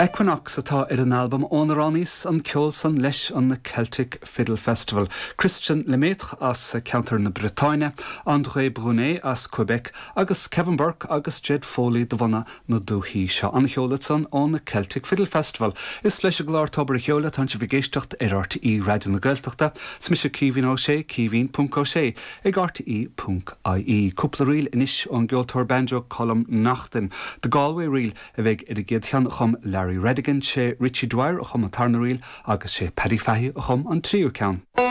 Equinox atá ar an albam ónar roghnaíos an ceol san leis an Celtic Fiddle Festival. Christian Lemaitre as ceantar na Briotáine, André Brunet as Quebec agus Kevin Burke agus Jed Foley de bhunadh na dúthaí seo. An-cheol ansan ón Celtic Fiddle Festival. Is leis an gclár Tobar a' Cheoil atánn sibh ag éisteacht ar RTÉ Raidió na Gaeltachta. 'S mise Caoimhín Ó Sé, caoimhín ponc ó sé ag rte ponc ie. Cúpla ríl anois ón gceoltóir banjo Colm Naughton. The Galway Reel a bheidh ar an gcéad cheann a chum Larry Redigan, sé Richie Dwyer a chum an tarna ríl agus sé Paddy Fahy a chum an tríú ceann.